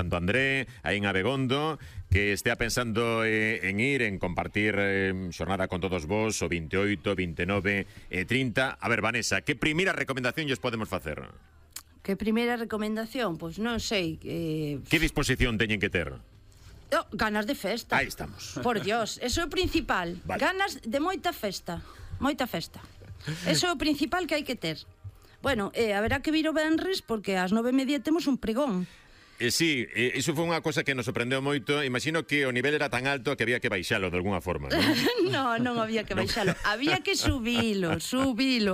Santo André, aí en Abegondo, que estea pensando en ir, en compartir xornada con todos vos, o 28, 29 e 30. A ver, Vanessa, que primeira recomendación lles podemos facer? Que primeira recomendación? Pois non sei. Que disposición teñen que ter? Ganas de festa. Aí estamos. Por Dios, eso é o principal. Vale. Ganas de moita festa. Moita festa. Eso é o principal que hai que ter. Bueno, haberá que vir o venres porque ás 9:30 temos un pregón. Sí, iso foi unha cosa que nos sorprendeu moito. Imagino que o nivel era tan alto que había que baixalo de alguna forma, non? Non había que baixalo. Había que subilo.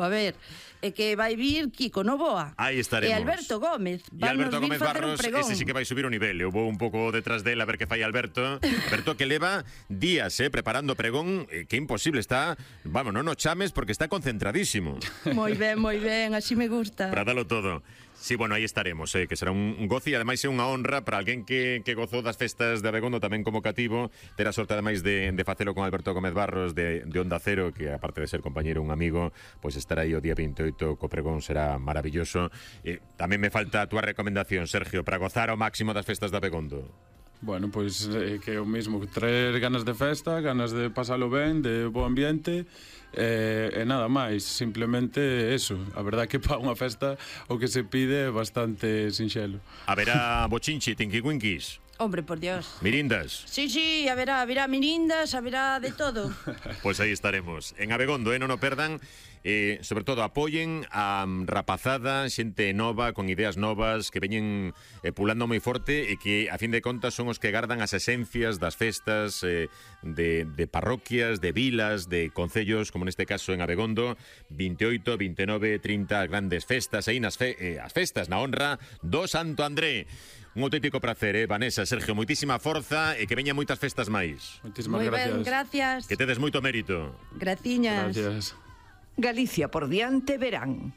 A ver, é que vai vir Kiko Novoa. Aí estaremos. E Alberto Gómez. E Alberto vir Gómez facer un Barros, pregón. ese sí que vai subir o nivel. Eu vou un pouco detrás del a ver que fai Alberto. Alberto que leva días preparando o pregón, que imposible está. Vamos, non o chames porque está concentradísimo. Moi ben, así me gusta. Para dalo todo. Sí, bueno, aí estaremos, que será un gozo e ademais é unha honra para alguén que gozou das festas de Abegondo tamén como cativo, ter a sorte ademais de facelo con Alberto Gómez Barros de Onda Cero, que aparte de ser compañeiro un amigo, pois estar aí o día 28 co pregón será maravilloso. Tamén me falta a túa recomendación, Sergio, para gozar ao máximo das festas de Abegondo. Bueno, pois que é o mismo, traer ganas de festa, ganas de pasalo ben, de bo ambiente, e nada máis, simplemente eso. A verdad que para unha festa o que se pide é bastante sinxelo. Haberá bochinchi, tinquicuinquis? Hombre, por Dios. Mirindas? Sí, haberá mirindas, haberá de todo. Pois aí estaremos. En Abegondo, non o perdan. Sobre todo apoyen a rapazada, xente nova, con ideas novas, que veñen pulando moi forte e que, a fin de contas, son os que gardan as esencias das festas de parroquias, de vilas, de concellos, como neste caso en Abegondo. 28, 29, 30 grandes festas aí as festas na honra do Santo André. Un auténtico prazer, Vanessa, Sergio, moitísima forza e que veñan moitas festas máis. Moitísimas Moi ben, gracias. Que tedes moito mérito. Graciñas. Gracias. Galicia por diante verán.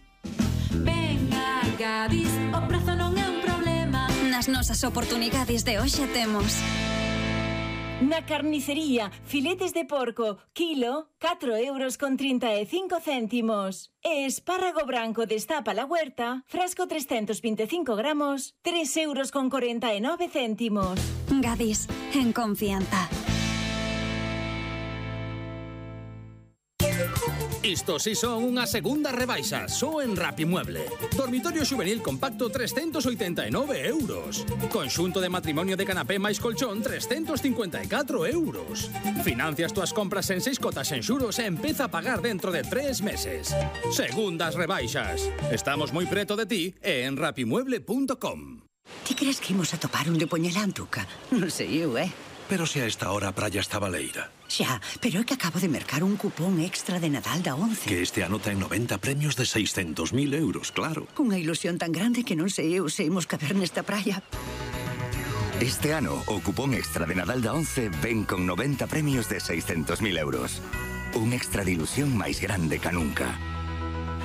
Venga, Gadis, o prazo non é un problema. Nas nosas oportunidades de hoxe temos na carnicería, filetes de porco, kilo, 4,35 €. E espárrago branco destapa la huerta, frasco 325 gramos, 3,49 €. Gadis, en confianza. Isto si son unha segunda rebaixa, só en Rapimueble. Dormitorio xuvenil compacto 389 €. Conxunto de matrimonio de canapé máis colchón 354 €. Financias túas compras en 6 cotas en xuros e empeza a pagar dentro de 3 meses. Segundas rebaixas. Estamos moi preto de ti e en rapimueble.com. Ti crees que imos a topar un de Poñelantuca? Non sei eu, Pero se a esta hora a praia está baleira. Xa, pero é que acabo de mercar un cupón extra de Nadal da 11. Que este ano ten 90 premios de 600.000 €, claro. Cunha ilusión tan grande que non sei eu se imos caber nesta praia. Este ano, o cupón extra de Nadal da 11 ven con 90 premios de 600.000 €. Un extra de ilusión máis grande ca nunca.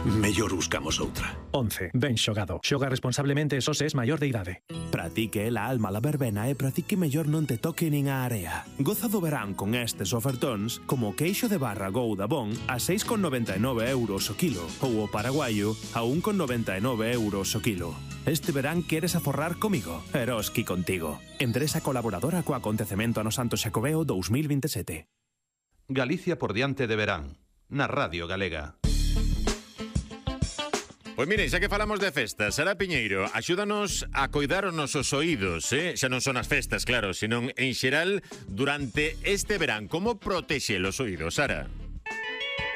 Mellor buscamos outra. 11. Ben xogado. Xoga responsablemente e só se es maior de idade. Para ti que é a alma la verbena e para ti que mellor non te toque nin a area. Goza do verán con estes ofertóns como o queixo de barra Gouda Bon a 6,99 € o kilo ou o paraguaio a 1,99 € o kilo. Este verán queres aforrar comigo? Eroski contigo. Empresa colaboradora co acontecemento ano Santo Xacobeo 2027. Galicia por diante de verán, na Radio Galega. Pois miren, xa que falamos de festas, Sara Piñeiro, axúdanos a coidar os nosos oídos, xa non son as festas, claro, senón en xeral durante este verán. Como protexe os oídos, Sara?